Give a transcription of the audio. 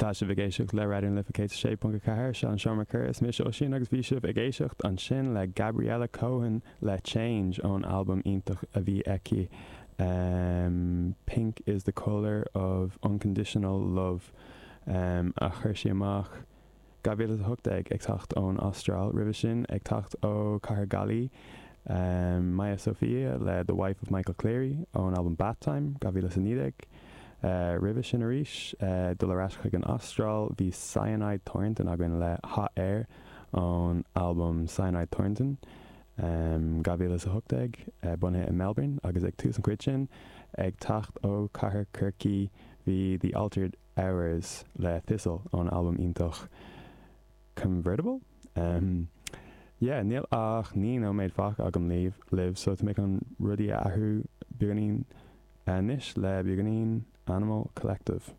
Tá sibh ag éisteacht le Raidió na Life 106.4, seo an Seomra Comhrá, is mise Oisín agus bhí sibh ag éisteacht ansin le Gabriella Cohen le Change ón albam iontach a bhí aici Pink is the Colour of Unconditional Love a chuir sí amach 2018 ag teacht ón Astráil, roimhe sin ag teacht ó Cathair Gaillimhe, Maya Sophia le The Wife of Michael Cleary ón albam Bath Time, 2019. Roimhe sin arís, dul ar ais chuig an Astráil, bhí Cyanide Thornton againn le Hot Air ón albam Cyanide Thornton, 2018, bunaithe i Melbourne, agus ag tús an chuid sin, ag teacht ó Cathair Chorcaí, bhí The Altered Hours le Thistle ón albam iontach Convertible? Yeah, níl ach 9 nóiméad fágtha agam libh, libh so tá mé chun rudaí a athrú beagáinín anois le beagáinín Animal Collective.